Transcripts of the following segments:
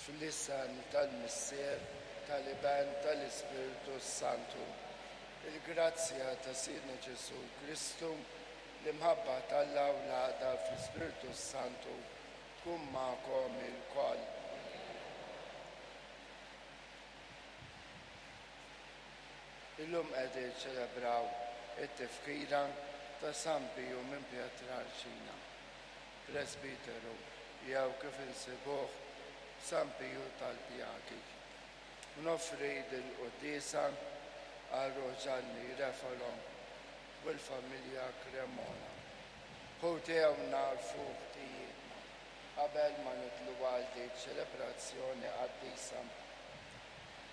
Fl-isem tal-Missier, tal-Iben, tal-Ispirtu s-Santu. Il-grazzja ta' Sidna Ġesù Kristu, l-imħabba t'Alla u l-għaqda fl-Ispirtu s-Santu tkun magħkom ilkoll. Illum qegħdin niċċelebraw it-tifkira ta' San Piju minn Pietralcina, presbiteru jew kif insibuh San Piju tal-Pjagi. U noffri dil-quddiesa għal ruħ Ġanni Refalo u l-familja Cremona. Ħuti hawn nagħrfu ħtijietna qabel ma nidħlu għal din ċelebrazzjoni qaddisa.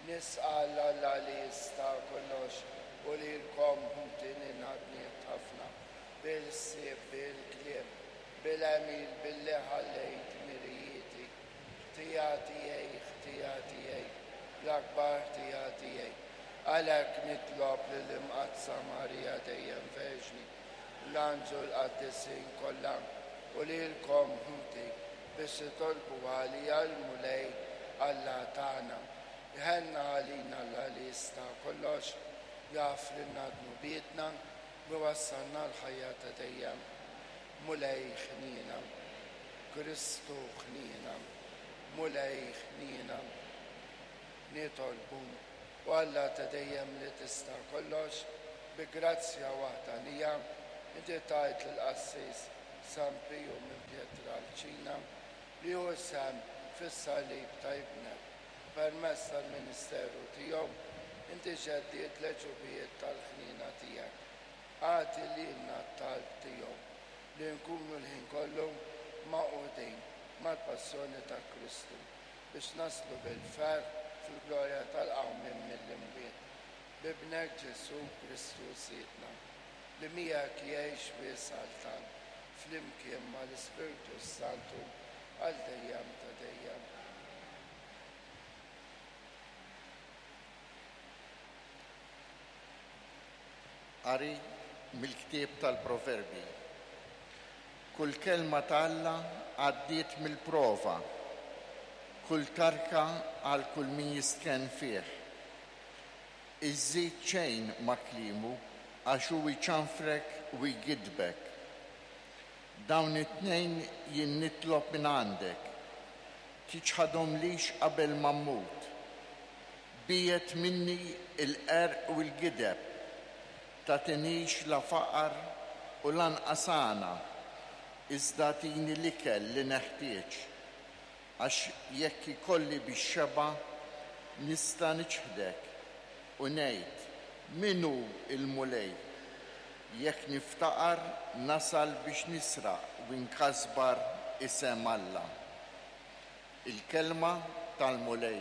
Nisqal Alla li jista' kollox u lilkom ħuti li ngħadniet ħafna, bil-ħsieb, bil-kliem, bil-għemil, billi ħallejt mirijieti. Ħtija tiegħi, ħtija tiegħi, l-akbar ħtija tiegħi. Għalhekk nitlob lill-Imqaddsa Marija dejjem Verġni, l-anġlu l-qaddisin kollha u lilkom ħuti biex titolbu għalija l-Mulej Alla tagħna. Iħenna għalina Alla li jista' kollox, jaħfrilna dnubietna u jwassalna għall-ħajja ta' dejjem. Mulej ħniena. Kristu ħniena. Mulej ħniena. Nitolbu. O Alla ta' dejjem li tista' kollox, bi grazzja waħdanija, inti tajt lill-qassis San Piju minn Pietralcina li hu sehem fis-salib ta' Ibnek. Permezz tal-ministeru tiegħu, inti ġeddidt l-għeġubijiet tal-ħniena tiegħek. Agħti lilna t-talb tiegħu li nkunu l-ħin kollu magħqudin mal-passjoni ta' Kristu biex naslu bil-ferħ fil-glorja tal-qawmien mill-imwiet. B'Ibnek Ġesù Kristu Sidna, li miegħek jgħix u jsaltan flimkien mal-Ispirtu s-Santu għal dejjem ta' dejjem. Qari mill-ktieb tal-Proverbji. Kull kelma ta' Alla għaddiet mill-prova, kull tarka għal kull min jistkenn fih. Iżżid xejn ma' kliemu għax hu jċanfrek u jgiddbek. Dawn it-tnejn jien nitlob minn għandek, tiċħadhomlix qabel ma mmut. Biegħed minni l-qerq u l-gideb, tagħtinix la faqar u lanqas għana, iżda agħtini l-ikel li neħtieġ, għax jekk ikolli bix-xebgħa nista' niċħdek u ngħid, 'Min hu l-Mulej? Jekk niftaqar nasal biex nisraq u nkasbar isem Alla. Il-kelma tal-Mulej.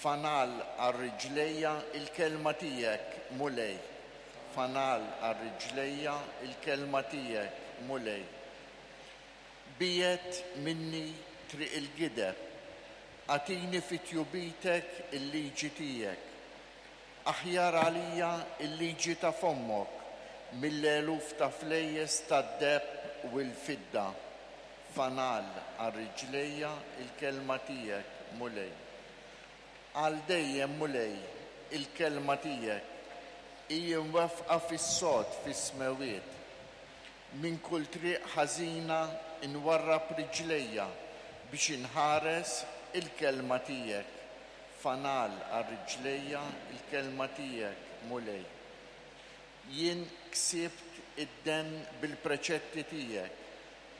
Fanal għal riġlejja il-kelma tiegħek, Mulej. Fanal għal riġlejja il-kelma tiegħek, Mulej. Biegħed minni triq il-gideb, agħtini fi tjubitek il-liġi tiegħek. Aħjar għalija l-liġi ta' fommok mill-eluf ta' flejjes tad-deheb u l-fidda. Fanal għal riġlejja l-kelma tiegħek, Mulej. Għal dejjem, Mulej, il-kelma tiegħek hi mwaffqa fis-sod fis-smewwiet. Minn kull triq ħażina nwarrab riġlejja biex inħares il-kelma tiegħek. Fanal għal riġlejja l-kelma tiegħek, Mulej. Jien ksibt id-denn bil-preċetti tiegħek,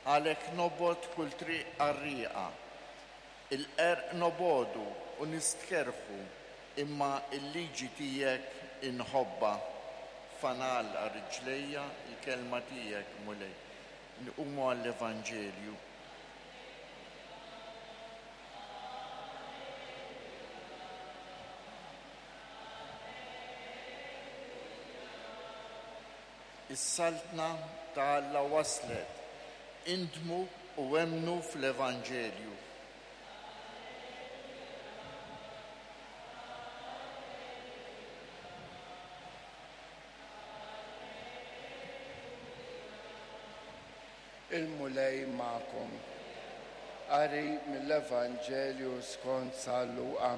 għalhekk nobgħod kull triq qarrieqa. Il-qerq nobogħdu u nistkerrħu, imma l-liġi tiegħek inħobbha. Fanal għal riġlejja l-kelma tiegħek, Mulej. Nqumu għall-Evanġelju. Is-Saltna ta' Alla waslet, indmu u emmnu fl-Evanġelju. Il-Mulej magħkom. Qari mill-Evanġelju skont San Luqa.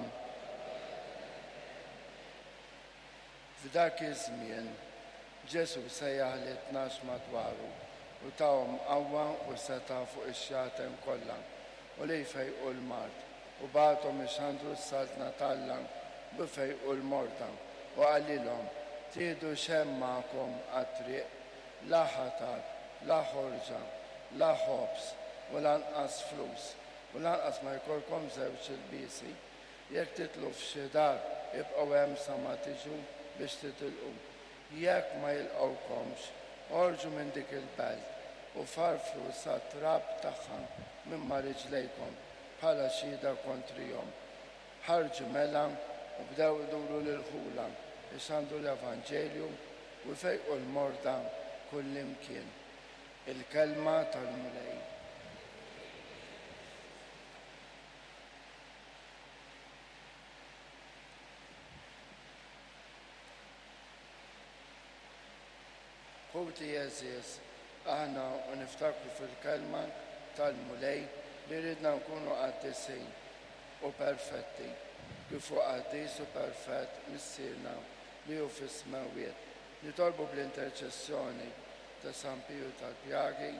F'dak iż-żmien, Ġesù sejjaħ lit-tnax madwaru u tahom qawwa u setgħa fuq ix-xjaten kollha u li jfejqu l-mard, u bagħathom ixandru s-Saltna t'Alla u jfejqu l-morda, u qalilhom, Tieħdu x'hemm magħkom għat-triq, la ħatar, la ħorġa, la ħobż, u lanqas flus, u lanqas ma jkollkom żewġ ilbiesi. Jekk tidħlu f'xi dar, ibqgħu hemm sa ma tiġu biex titilqu. Jekk ma jilqgħukomx, oħorġu minn dik il-belt u farfru sat-trab tagħha minn ma' riġlejkom bħala xhieda kontrihom. Ħarġu mela u bdew iduru l-irħula, ixandru l-evanġelju u jfejqu l-morda kullimkien. Il-Kelma tal-Mulej. Ħuti għeżież, aħna u niftakru fil-kelma tal-Mulej li jridna nkunu qaddisin u perfetti, kif hu qaddis u perfett Missierna li hu fis-smewwiet. Nitolbu bl-interċessjoni ta' San Piju tal-Pjagi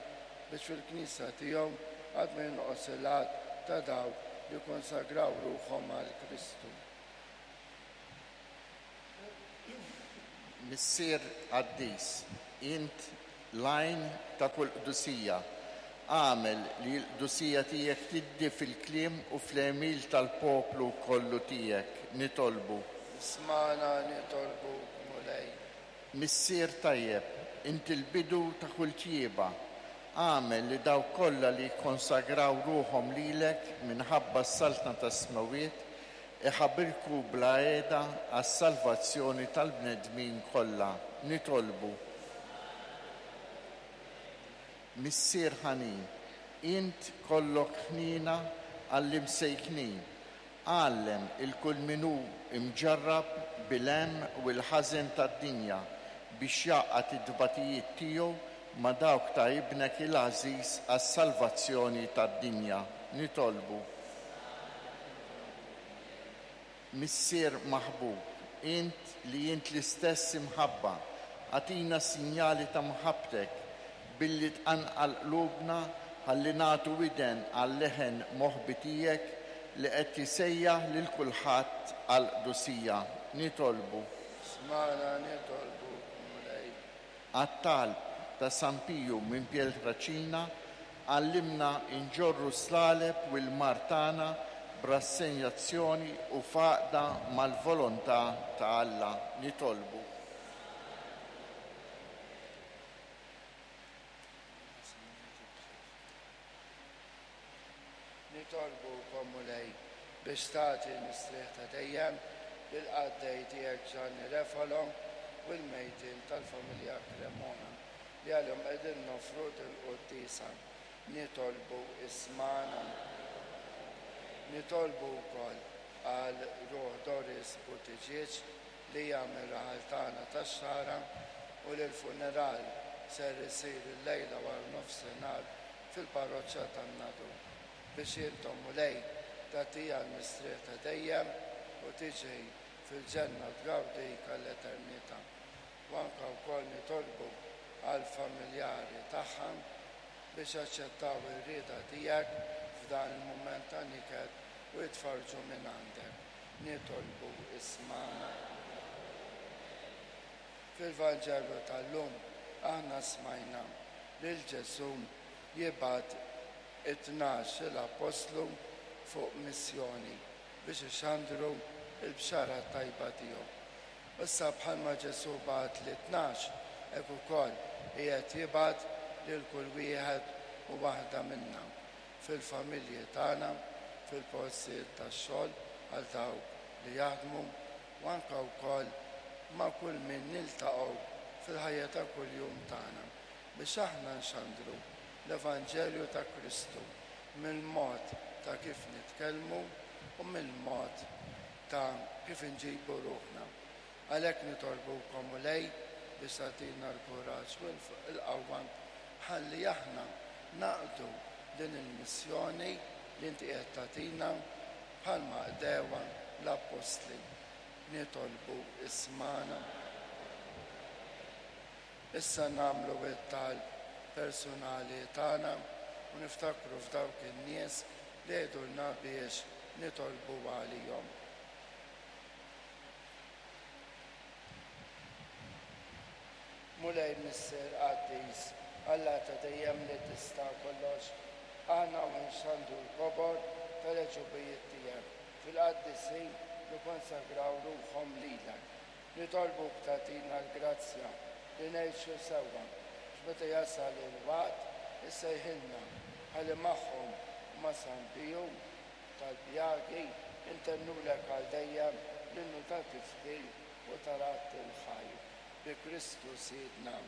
biex fil-Knisja tiegħu qatt ma jonqos il-għadd ta' dawk li kkonsagraw ruħhom għal Kristu. Missier qaddis, int l-għajn ta' kull qdusija. Agħmel li l-qdusija tiegħek tiddi fil-kliem u fl-għemil tal-poplu kollu tiegħek, nitolbu. Ismagħna nitolbuk, Mulej. Missier tajjeb, int il-bidu ta' kull tjieba. Agħmel li dawk kollha li jikkonsagraw ruħhom lilek minħabba s-Saltna tas-Smewwiet iħabirku bla heda għas-salvazzjoni tal-bnedmin kollha. Nitolbu. Missier ħanin, int kollok ħniena għall-imsejknin. Għallem 'il kull min hu mġarrab bil-hemm u l-ħażen tad-dinja biex jgħaqqad it-tbatijiet tiegħu ma' dawk ta' Ibnek il-għażiż għas-salvazzjoni tad-dinja. Nitolbu. Missier maħbub, int li int l-istess imħabba, agħtina sinjali ta' mħabbtek billi tqanqal qlubna ħalli nagħtu widen għal-leħen moħbi tiegħek li qed isejjaħ lil kulħadd għall-qdusija. Nitolbu. Smagħna nitolbuk, Mulej. Għat-talb ta' San Piju minn Pietrelcina, għallimna nġorru s-slaleb u l-mar tagħna b'rassenjazzjoni u f'għaqda mal-volontà ta' Alla. Nitolbu. Nitolbukom, Mulej, biex tagħti l-mistrieħ ta' dejjem lill-qaddej tiegħek Gianni Refalo u l-mejtin tal-familja Cremona li għalihom qegħdin noffru dil-quddiesa. Nitolbu ismagħna. Nitolbu wkoll għal ruħ Doris Buttigieg li hija mir-raħal tagħna tax-Xagħra u li l-funeral ser isir illejla wara nofsinhar fil-parroċċa tan-Nadur, biex intom, Mulej, tagħtiha l-mistrieħ ta' dejjem u tiġi fil-ġenna tgawdik għall-eternità. U anke wkoll nitolbu għall-familjari tagħha biex jaċċettaw ir-rieda tiegħek f'dan il-mument ta' niket u jitfarrġu minn għandek. Nitolbu ismagħna. Fil-Vanġelu tal-lum aħna smajna lil Ġesù jibgħat it-tnax-il appostlu fuq missjoni biex ixandru l-bxara t-tajba tiegħu. Issa bħalma Ġesù bagħat lit-tnax, hekk ukoll qiegħed jibgħat lil kull wieħed u waħda minna fil-familji tagħna, fil-postijiet tax-xogħol għal dawk li jaħdmu u anke wkoll ma' kull min niltaqgħu fil-ħajja ta' kuljum tagħna biex aħna nxandru l-Evanġelju ta' Kristu mill-mod ta' kif nitkellmu u mill-mod ta' kif inġibu ruħna. Għalhekk nitolbukom, Mulej, biex tagħtina l-kuraġġ u l-qawwa ħalli aħna naqdu din il-missjoni. li inti qiegħed tagħtina bħalma qdewha l-appostli. Nitolbu ismagħna. Issa nagħmlu t-talb personali tagħna u niftakru f'dawk in-nies li jgħidulna biex nitolbu għalihom. Mulej Missier qaddis, Alla ta' dejjem li tista' kollox, aħna u nxandru l-kobor tal-għeġubijiet tiegħek fil-qaddisin li kkonsagraw ruħhom lilek. Nitolbuk tagħtina l-grazzja li ngħixu sewwa biex meta jasal il-waqt issejħilna ħalli magħhom u ma' San Piju tal-Pjagi intennulek għal dejjem l-innu ta' tifħir u ta' radd il-ħajr. Bi Kristu Sidna.